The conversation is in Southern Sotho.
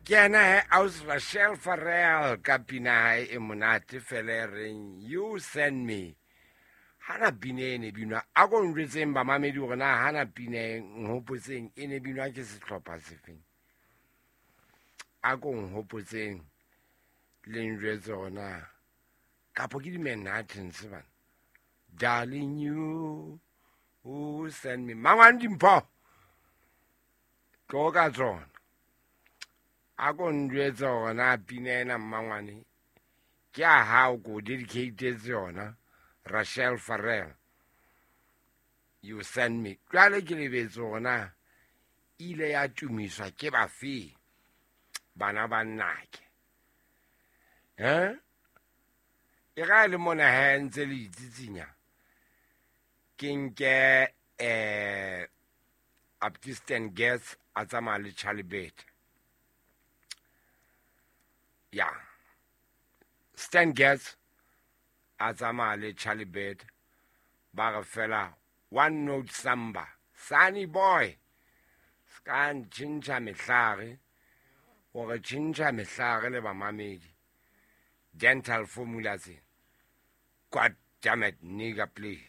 Ke yena he aus Rachel Farrell ka pina hae e monate fela e reng You Send Me. Hana pina e ne binwa, a ko njwetseng bamamedi hore na hana pina e nhopotseng e ne binwa ke sehlopha sefeng. A ko nhopotseng le njwetse hore na kapo ke di-Manhattans bana. Darling you who send me. Mangwane dimpho tlo ka tsona. A ko njwetse hore na pina ena mmangwane ke a hao ko dedicatetse yona Rachel Farrell. You send me. Jwale ke lebetse hore na ile ya tumiswa ke bafe bana ba nnake. Eh? E ga le mona he ntse le itsitsinya. Ke nke Baptisten Getz a tsamaya le Charlie Bird. Ya. Stan Getz a tsamaya le Charlie Bird ba re fela one note samba. Sunny boy. Ska ntšhintšha mehlare. O re tšhintšha mehlare le bamamedi. Dental formula tse. God damn it, nigga, please.